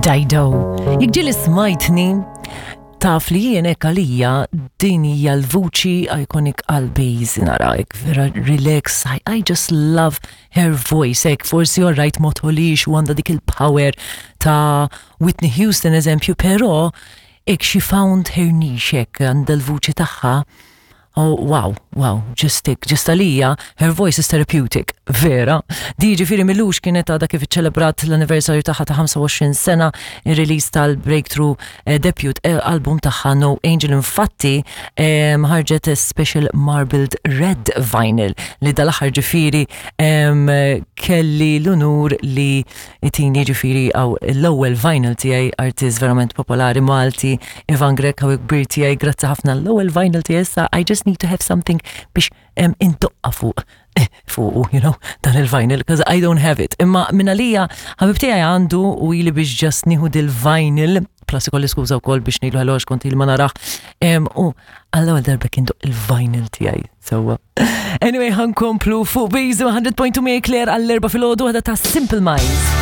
Dido. Jekk ġieli smajtni, taf li jien hekk għalija din hija l-vuċi iconic għal bass nara hekk vera relax, I, I just love her voice hekk forsi alright ma tħolix u għandha dik il-power ta' Whitney Houston eżempju, però hekk she found her niche hekk għandha l-vuċi tagħha. Oh, wow, wow, just tik, just għalija, her voice is therapeutic, vera. Di ġifiri milux kienet għada kif iċċelebrat l-anniversarju tagħha ta' 25 sena, il-release tal-breakthrough eh, debut eh, album tagħha No Angel infatti ħarġet special marbled red vinyl li dal-aħħar ġifiri kelli l-unur li itini ġifiri għaw l-ewwel vinyl tiegħi artist verament popolari Malti Ivan Grech għaw kbir tiegħi grazzi ħafna l-ewwel vinyl tiegħi issa I just need to have something biex indoqqa fuq eh, fuq, you know, dan il-vinyl, because I don't have it. Imma minn għalija, ħabib tiegħi għandu u ili biex just nieħu dil-vinyl, plus ikolli skuża wkoll biex ngħidlu hello kont il ma narax. U għall-ewwel darba kien il-vinyl tiegħi. Sewwa. Anyway, ħankomplu fuq Bizu 100.2 Claire għall-erba filgħodu għada ta' Simple Minds.